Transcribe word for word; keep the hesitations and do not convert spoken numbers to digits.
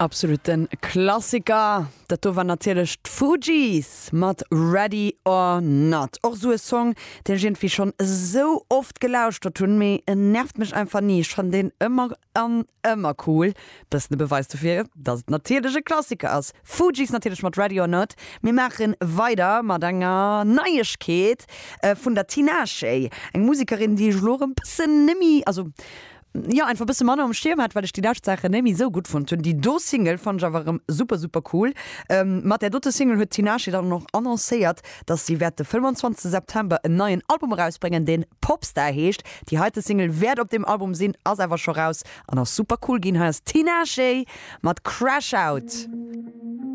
Absoluten Klassiker. Dat do war natierlech d'Fugees mat Ready or Not. Och sou e Song, deen ech iergendwéi schonn sou oft gelauschtert hunn, mee en nervt mech einfach ni. Ech fannen deen ëmmer an ëmmer cool. Bëssen de Beweis dofir, dass et natierlech e Klassiker ass. Fugees natierlech mat Ready or Not. Mir maache weider mat enger Neiegkeet vun der Tinashe, eng Musekerin, déi ech elo erëm bëssen nemmi, also jo, einfach bësse manner um Schierm hat, well ech déi lescht Saachen net méi sou gutt fonnt hunn. Déi do Single fannt ech awer erëm super super cool. Mat där dote Single huet d'Tinashe dann och annoncéiert, dass si wäert de fënnwanzwanzegste September en neien Album erausbréngen, deen Popstar heescht. Déi heite Single wäert op deem Album sinn, ass awer scho raus an ass super cool ginn. Hei ass d'Tinashe mat Crash Out.